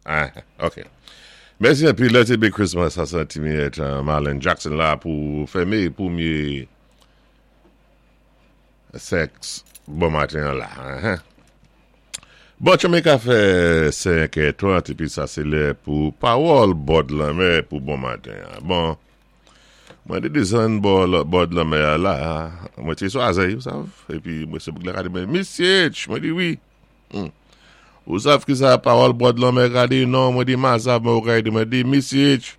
Ah, ok. Mèsi anpil. Lè té Big Christmas sa san ti miyèt Marlon Jackson la pou fèmé pwémyé sèks bon maten an la. Bon, tchonmi ka fè 5 è 30 épi sa sé lè pou pawòl bòd lanmè pou bon maten an. Bon, mwen té desann bò bòd lanmè a la, mwen té sou azèy, ou sav, épi mwen sé bouk la ka di mwen, Misye H, mwen di wi. Ou sav ki sa pawòl bòd lanmè ka di? Non, mwen di ma sav mwen ou ka di mwen di Misye H,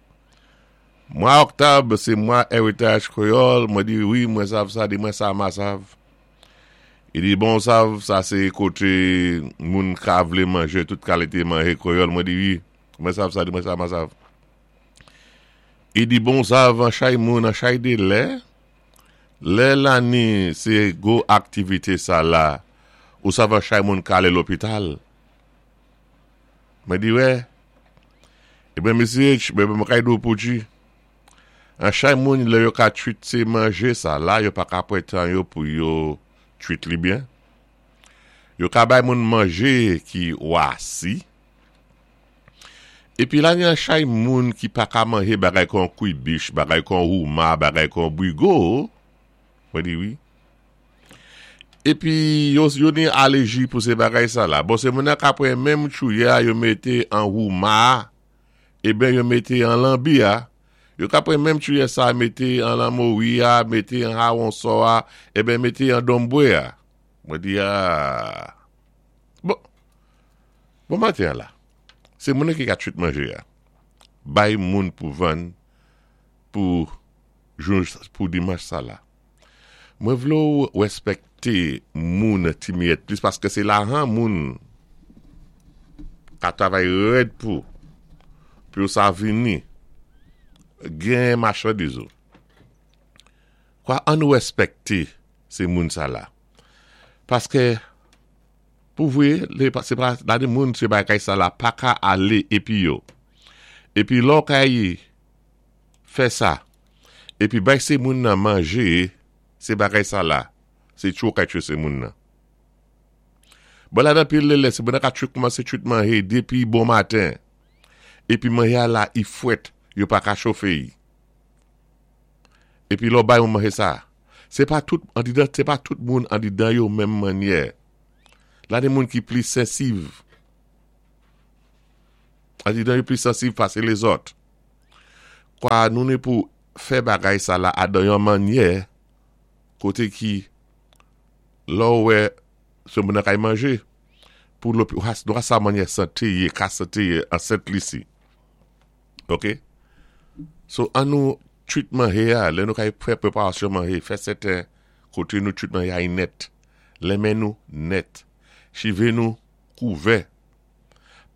mwa oktòb sé mwa eritaj kwéyòl, mwen di wi mwen sav sa, di mwen sa ma sav. I di bon sav sa se kote moun ka vle manje tout kalite manje kreyòl mwen di wi mwen sav sa di mwen sa ma sav i di bon sav an chay moun an chay de lè lè lani se gwo aktivite sa la ou sav an chay moun ka ale lopital mwen di wè e ben mesye mwen mwen kay di w pou di An chay moun lè yo ka twit se manje sa la yo pa ka pran tan yo pou yo twit li byen. Yo ka bay moun manje ki wasi. Epi la gen an chay moun ki pa ka manje bagay kon kwibich, bagay kon ouma, bagay kon brigo. Mwen di wi. Epi yo yo ni aleji pou se bagay sa la. Bon se moun nan ka pran menm tchouyè a yo mete an ouma a. Eben yo mete an lanbi a, yo ka pran menm tuyè sa mete an lanmori a, mete an hawonsò a, eben mete an donbwe a. Mwen di aa. Bon, bon maten an la, se moun ki ka twit manje a, bay moun pou vann pou jou, pou dimanch sa la. Mwen vle w respekte moun ti miyèt plis paske se lajan moun ka travay rèd pou pou yo sa vini gen machandiz ou kwa an nou respekte se moun sa la paske pou vre se pa la de moun se bagay sa la pa ka ale epi yo epi lò kay fè sa epi bay se moun nan manje se bagay sa la se tchwe ou ka tchwe se moun nan bon ladan pil lè se moun nan ka tchwe koumanse tchwe manje depi bon maten epi manje a la i fwèt yo pa ka chofe i epi lè ou bay moun manje sa se pa tout andidan se pa tout moun andidan yo menm mannyè la gen moun ki plis sensiv andidan yo plis sensiv pase lezòt. Kwa nou ni pou fè bagay sa la a dan yon mannyè koté ki lè ou wè se moun nan kay manje pou nou ka sa mannyè sante ye ka sante ye an Sent Lisi ok so an nou twit manje a lè nou kay fè preparasyon manje fè sèten kote nou twit manje a yi nèt lè men nou nèt chive nou kouvè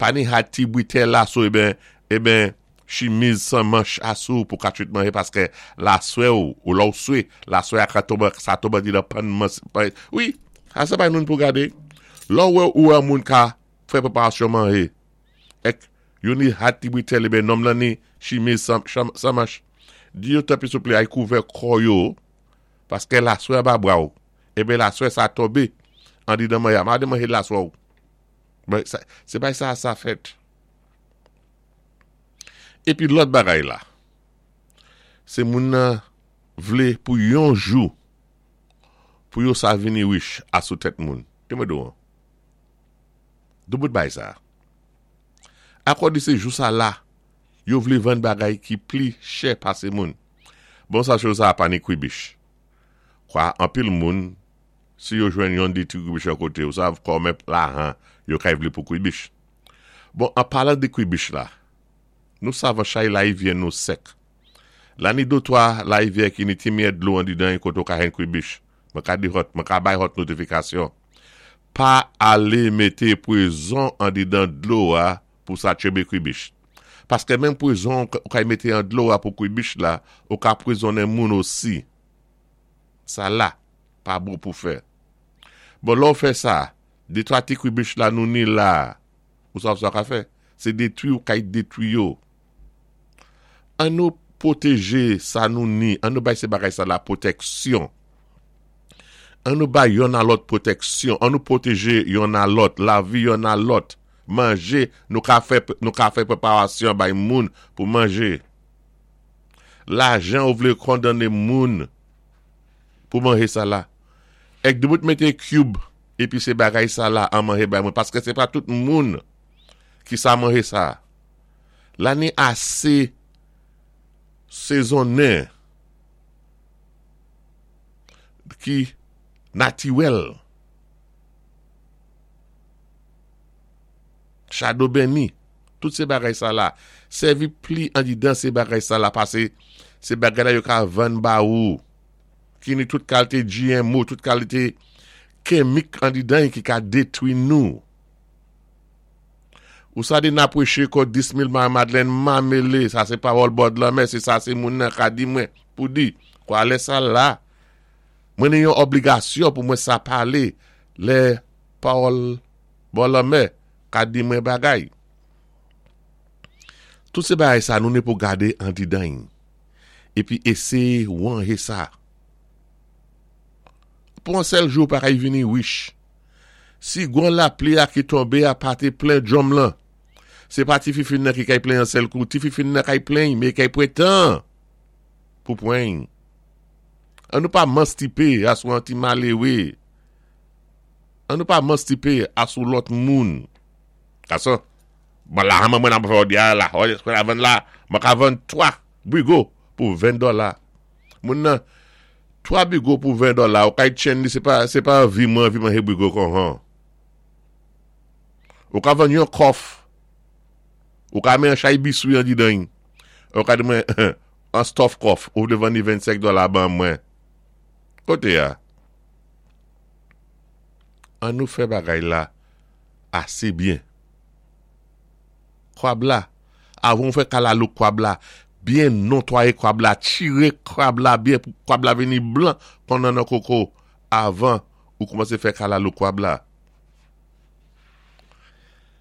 Pa ni ha ti britè la sou eben eben chimiz sans manch a sou pou ka twit manje paske laswè ou ou lè ou swe laswè a ka tonbe sa tonbe di nan pann mans wi sa se pa moun pou gade lè ou wè ou wè moun ka fè preparasyon manje ek yo ni ha ti britèl eben nonm lan ni chimiz sans manch di yo tanpri souple ay kouvè kò yo paske laswè anba bra ou eben laswè sa tonbe andidan manje a made manje laswè ou. Bon, se bay sa sa fèt. Epi lòt bagay la, se moun nan vle pou yon jou pou yo sa vini rich a sou tèt moun. Te mwen do an. Do bout bay sa. Akò di se jou sa la, yo vle vann bagay ki pli chè pase moun. Bon sa chou sa a pa ni kribich. Kwa anpil moun Si yo jwenn yon de ti kribich yon kote, ou sav kòmen lahan yo kay vle pou kribich. Bon, an palan de kribich la, nou sav an chay laivyè nou sèk. La ni dotwa laivyè ki ni ti miyèt dlo andidan y kote ou ka jwenn kribich. Mwen ka di hòt, mwen ka bay hòt notifikasyon. Pa ale mete pwezon andidan dlo a pou sa tchebe kribich. Paske menm pwezon ou kay mete an dlo a pou kribich la, ou ka pwezonnen moun osi. Sa la. Pa bon pou fè. Bon lè w fè sa, de twa ti kribich la nou ni la a, ou sav sa w ka fè? Se detwi ou kay detwi yo. An nou pwoteje sa nou ni, an nou bay se bagay sa la pwoteksyon. An nou bay yonn a lòt pwoteksyon, an nou pwoteje yonn a lòt, lavi yonn a lòt. manje nou ka fè nou ka fè preparasyon bay moun pou manje. Lajan ou vle kondanne moun pou manje sa la. Èk debout mete cube epi se bagay sa la an manje bay mwen paske se pa tout moun ki sa manje sa. La ni ase sezonnen ki natiwèl. Chado beni, tout se bagay sa la. Sèvi pli andidan se bagay sa la pase se bagay la yo ka vann ba ou. Ki ni tout kalte GMO, tout kalite kemik andidan yi ki ka detwi nou. Ou sa di na pweche ko 10,000 ma Madeleine ma mele, sa se pawòl bòd lanmè, se sa se moun nan ka di mwen pou di. Kwa lè sa la, mwen ni yon obligasyon pou mwen sa pale lè pawòl bò lanmè ka di mwen bagay. Tout se bagay sa nou ne pou gade andidan epi eseye wanje sa. Pou an sèl jou pa kay vini rich. Si gwan lapli a ki tonbe a pa te plen djonm lan, se pa ti fifin nan ki kay plen an sèl kou, ti fifin nan kay plen, men kay pwen tan pou pwen. An nou pa manstipe a sou an ti malewe. An nou pa manstipe a sou lòt moun. Gason, bon la mwen mwen ap fè òdi a la, òdi a vann la, mwen ka vann 3 brigo pou 20 dola. Moun nan, 3 bigo pou 20 dola, ou kay tchen li, se pa, se pa anvi mwen anvi manje bigo kon han. Ou ka vann yon kòf, ou ka men an chay biswi an didan, ou ka di mwen, an stòf kòf, ou vle vann li 25 dola ban mwen. Kote ya? An nou fè bagay la ase byen. Kwab la, avan ou fè kalalou kwab la, byen nontwaye kwab la, tire kwab la byen pou kwab la vini blan kon nannan koko avan ou koumanse fè kalalou kwab la.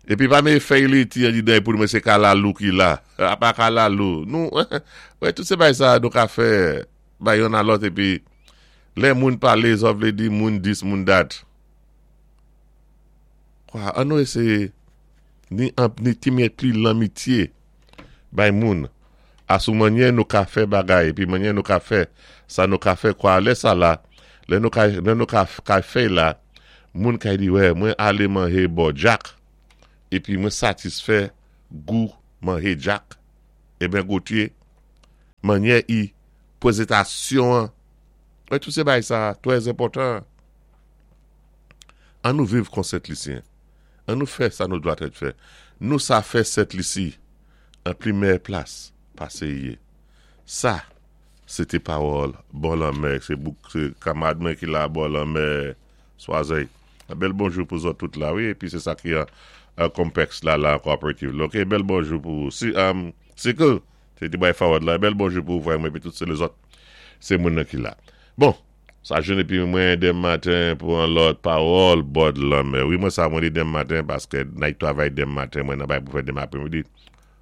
Epi pa mete fèy leti andidan pou nou mwen se kalalou ki la. A pa kalalou. Nou, wè tout se bagay sa nou ka fè bay yonn a lòt epi lè moun pale sa vle di moun dis moun dat. Kwa, an nou eseye ni anp ni ti mye pli lanmitye bay moun a sou manyè nou ka fè bagay epi manyè nou ka fè sa nou ka fè kwa lè sa la lè nou ka lè nou ka ka fèy la moun kay di wè mwen ale manje bò Jack epi mwen satisfè gou manje Jack eben Gauthier manyè i pwezetasyon an wè tout se bagay sa trè enpòtan an nou viv kon Sentlisyen. An nou fè sa nou dwa tèt fè. Nou sa fè Sent Lisi an pli mèyè plas pase ye. Sa, se te pawòl bò lanmè, se bouk, se kamarad mwen ki la bò lanmè Swazèy. Yon bèl bonjou pou zòt tout la wi, epi se sa ki an Compex la la an Cooperative la. Ok, bèl bonjou pou ou. Si, Sikl, se te bay fawòd la, bèl bonjou pou ou frè mwen epi tout se lezòt se moun nan ki la. Bon! Sa joun epi mwen dem maten pou an lòt pawòl bòd lanmè wi mwen sa mwen li dem maten paske nay travay dem maten mwen nan bay pou fè dem apremidi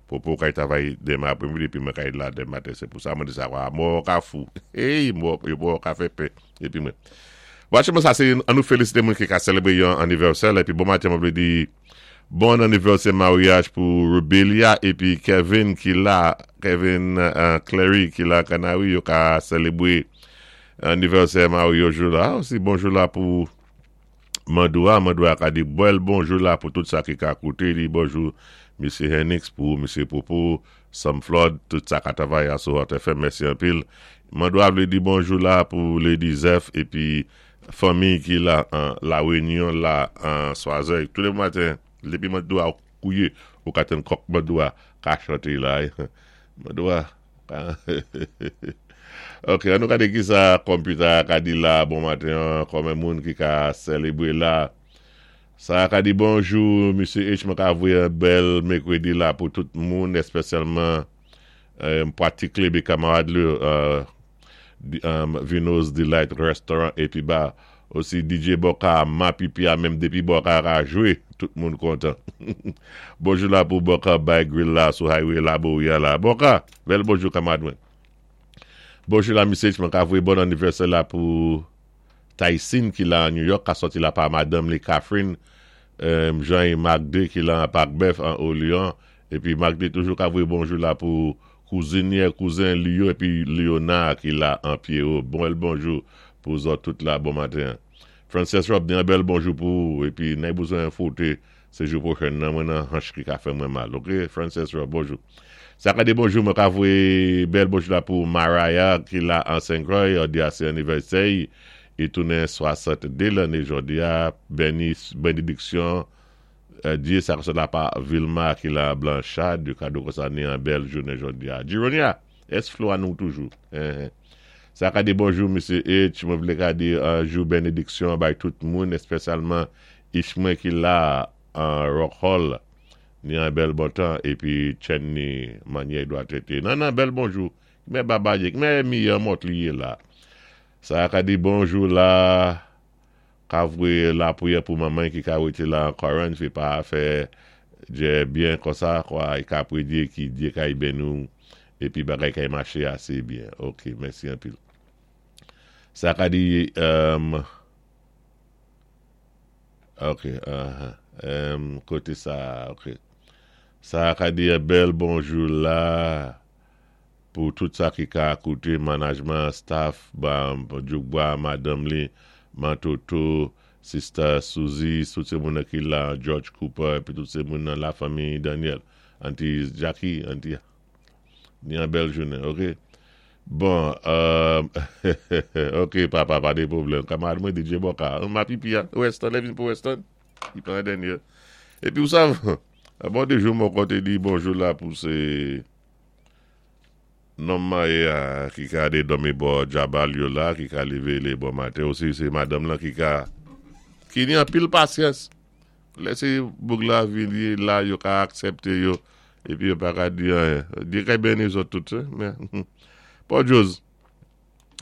popo kay travay dem apremidi epi mwen kay la dem maten se pou sa mwen di sa wa mò ka fou eyy mò yo mò ka fè pè epi mwen bon acheman sa se an nou felisite moun ki ka selebre yon anivèsè la epi bon maten mwen vle di bon anivèsè maryaj pou Rubelia epi Kevin ki la Kevin Clary ki la kanari yo ka selebre Anivèsè Mario jou la osi bonjou la pou Mandoua Mandoua ka di bèl bonjou la pou tout sa ki ka koute li bonjou Mesye Hennix pou Mesye Popo Sam Flood tout sa ka travay a sou Hot FM mèsi anpil Mandoua vle di bonjou la pou Lady Zeph epi fanmiy ki la an La Reunion la an Swazèy tou le maten depi Mandoua kouye ou ka tann kòk Mandoua ka chante la Mandoua Ok, an nou gade ki sa computer a ka di la bon maten an, kòmen moun ki ka selebre la. Sa a ka di bonjou, Misye H, mwen ka voye yon bèl mekredi la pou tout moun, espesyalman Pwati Klebe kamarad li, Vino's Delight Restaurant epi ba osi DJ Boka ma pipi a menm depi Boka ka jwe tout moun kontan. Bonjou la pou Boka bay grill la sou highway Laborie a la. Boka, bèl bonjou kamarad mwen. Bonjou la Misye H mwen ka voye bon anivèsè la pou Tyson ki la New York ka sòti la pa madanm li Catherine. Jean et Magde ki la an Pak Bèf an Olion, épi Magde toujou ka voyé bonjou la pou kouzinyè, kouzen li yo, épi Léonard ki la an Pierrot. Bon bonjou pou zòt tout la, bon maten. Frances Rob, ni an bèl bonjou pou ou, épi nèg bezwen fwoté, sé jou pwochen nan mwen nan hanch ki ka fè mwen mal, ok? Frances Rob, bonjou. Sa ka di bonjou, mwen ka voyé bèl bonjou la pou Mariah ki la an Saint-Croix, jòdi a sé anivèsè, i tounen 62 lanné jòdi a, béni, bénédiksyon, Dye sa la pa Vilma ki la Blanchard, kado konsa ni an bèl jounen jòdi a. Gironia, ès flo a nou toujou? Sa ka di bonjou, Mesye H, mwen vlé ka di an jou bénédiksyon bay tout moun, espesyalman ich mwen ki la an Rock Hall, ni an bèl bon tan, épi chen ni manyè dwa trété. Nan nan, bèl bonjou, mè babaye, mè mi mòt li yé la. Sa ka di bonjou la, ka voyé lapwiyè pou manman ki ka wété la an Corinth, fi pa fè djè byen konsa, kwa, i ka prédyé ki Dye kay beni ou, épi bagay kay maché asé byen. Ok, mèsi anpil. Sa ka di, ok, koté sa, ok. Sa ka di bèl bonjou la pou tout sa ki ka kouté management, staff, ba, Djoukba, madanm li, Mantoto, Sister Suzy, tout sé moun ki la, George Cooper, épi tout sé moun nan la fanmi Daniel, Auntie Jackie, Auntie, ni an bèl jounen, ok? Bon, ok papa, pa de pwoblèm. Kamarad mwen DJ Boka, ma pipi a, Weston, lè vin pou Weston, i pran dènyè. Épi ou sav, bon de jou mwen koté di bonjou la pou sé nonm maryé a ki ka de dòmi bò djabal yo la, ki ka lévé lé bon maten osi, sé madanm lan ki ka, ki ni anpil pasyans. Lè sé boug la vini la, yo ka aksèpté yo, épi yo pa ka di anyen. Dye kay beni zòt tout, men, Paul Joz,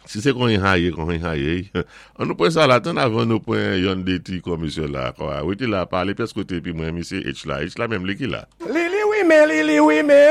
si sé kon haye, kon haye, an nou pran sa la, tann avan nou pran yon de ti komisyon la, kwa, wété la, palé pyès koté, épi mwen misye H la, H la menm li ki la. Lili wi men, lili wi men.